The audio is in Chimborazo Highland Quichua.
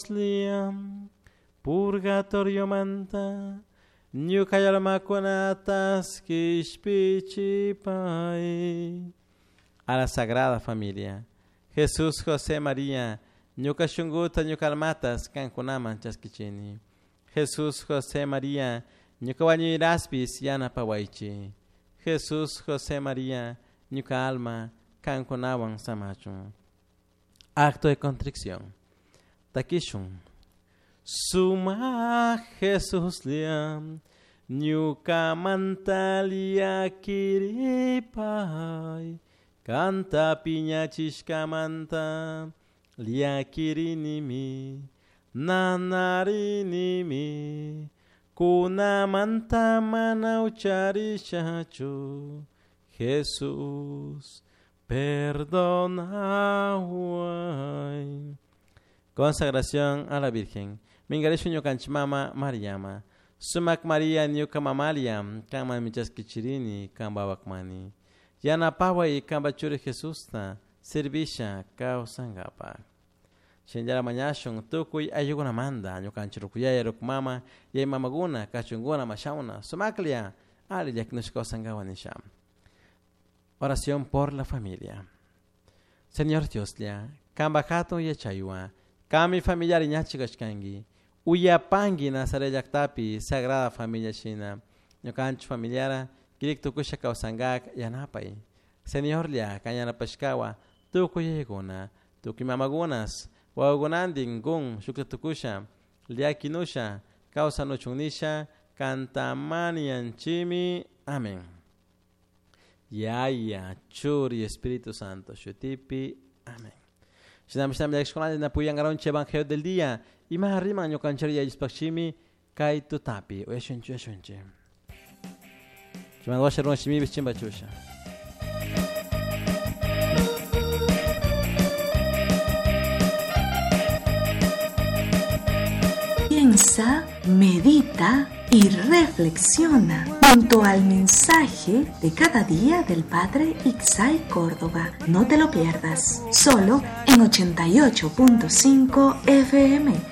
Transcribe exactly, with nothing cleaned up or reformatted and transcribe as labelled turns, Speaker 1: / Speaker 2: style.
Speaker 1: Liam, purgatorio manta, ñuka almakunatas kishpichipai. A la Sagrada Familia, Jesús, José, María, ñuka shunguta, ñuka almatas, kankunaman chaskichini. Jesús, José, María, ñuka wañuiraspis yanapawaychi. Jesús, José, María, ñuka alma, kankunawan samachun. Acto de contrición. Takishun. Suma Jesús liam, ñuka mantalia kiripay, kanta piñachishkamanta, liakirinimi, nanarinimi, kunamanta mana ucharishachu, Jesús, perdonaway. Consagración a la Virgen. Mingarishu ñukanchik mama Mariama. Sumak Maria ñuka mamalia, kama michaskichirini, kamba wakmani. Yanapaway kamba churi Jesusta, servisha kawsankapa. Shinllara mañashun tukuy ayukunamanta, ñukanchik rukuyaya rukumama, yay mamaguna, kachunguna, mashauna, sumaklia, ali llakinushka kawsankawa nisha. Oración por la familia. Señor Dioslla, kamba hatun yachaywa, kami familiar ñachi kashkanki, uyapanki Nazaret llaktapi Sagrada Familia shina, ñukanchik familiara kirik tukusha kawsankak yanapay. Señorlla, kan yanapashkawa, tukuy yaykuna, tukuy mamakunas, wawakunantin kun shukta tukusha, llakinusha, kawsanuchun kantamanianchimi. Amén. Yaya, Churi, Espíritu Santo, Shutipi. Amén. Shinami shinami llakishkunalla napuyankaronchi Evangelio del día. Ima riman ñukanchik yallispakchimi kay tutapi. Uyashunchi, uyashunchi. Chimandwasha runa shimipi chimbachusha.
Speaker 2: Piensa, medita y reflexiona junto al mensaje de cada día del Padre Ixay Córdoba. No te lo pierdas, solo en ochenta y ocho punto cinco F M.